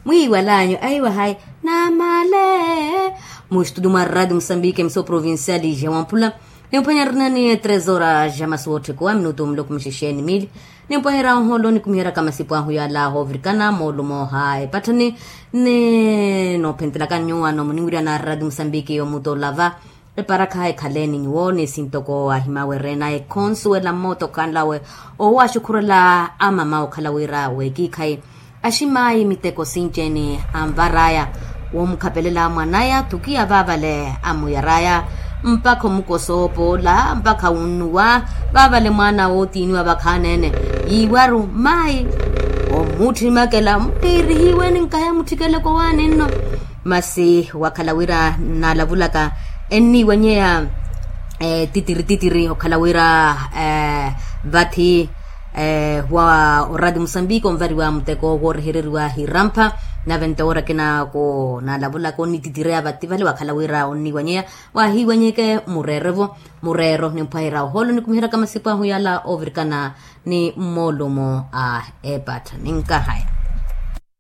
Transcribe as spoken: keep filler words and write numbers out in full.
Mwiiwalanyu aiwa hayi namale. Mu estudio mwa radio musambike emiso provincial ja wampula. Nimphwanya rinani tres horas ja masu wootthikiwa minutu muloko muxixeni mili. Nimpwahera ohoolo nikumiheraka masipu ahu yala hoovirikana moolumo ha epatthani. Ni noophentelaka nyuwano muniwirya na radio musambike yomutola va eparakha ekhaleeni nyuwo ni sintoko ahimawerena ekhonsuwela mmooto khanlawe. Owaxukhurela amama okhala wira wekiikhayi aximaayi miteko sinci-ene anvaraya womukhapelela mwanaya thukiya vaavale amuyaraya mpakha omukosa opoola mpakha wunnuwa vaavale mwana wootiiniwa vakhaanene yiiwaru maayi omutthimakela muttiirihiweni nkaya mutthikele kowaani nno. Masi wakhala wira nnalavulaka enniiwanyeya titiri titiri okhala wira vathi wa orati musambiki onvariwa muteko woorehereriwa hirampha. Nave nto woora akina ko naalavulaka onnititireya vathi vale wakhala wira onniiwanyeya wahiiwanyeke mureerevo mureero nimphwahera ohoolo nikumiheraka masipu ahu yala oovirikana ni mmoolumo a epattha ninkahaya.